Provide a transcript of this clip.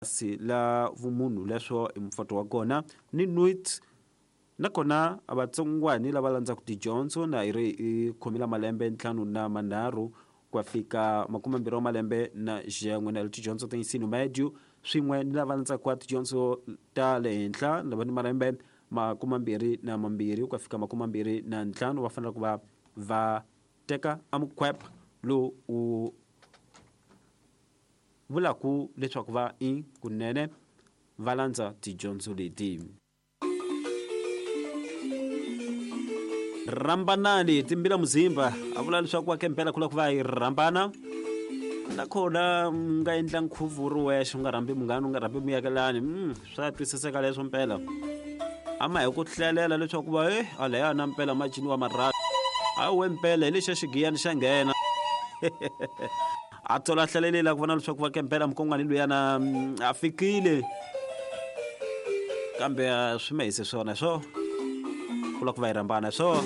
Pasi la vumunhu leswo i mufoto wa kona ni nuit nakona a vatsongwani lava landzaka tidyondzo na yi ri i khomile malembe ntlhanu na manharhu ku ya fika makumembirhi wa malembe na xin'we na tidyondzo ta ensino médio swin'we ni lava landzaka tidyondzo ta le henhla lava ni malembe makumembirhi na mambirhi ku ya fika makumembirhi na ntlhanu va fanele ku va va teka a mukhwep lowu u vulaku leswaku va i kunene va landza tidyondzo leti. Rhambanani timbila muzimba a vula leswaku wa kempela ku lava ku va yi rhambana nakona u nga endla nkhuvo wu ri wexe u nga rhambi munghana u nga rhambi muakelani swa twisiseka leswo mpela a ma hi ku hlelela leswaku va e alaya na mpela ma ciniwa marhasi hayi we mpela hi lexa xigiyani xa nghena a tsola hlalelela ku vona leswaku va kempela mukongwani luyana a fikile kambe swi ma hise swona swo ku lava ku va yi rhambana swo.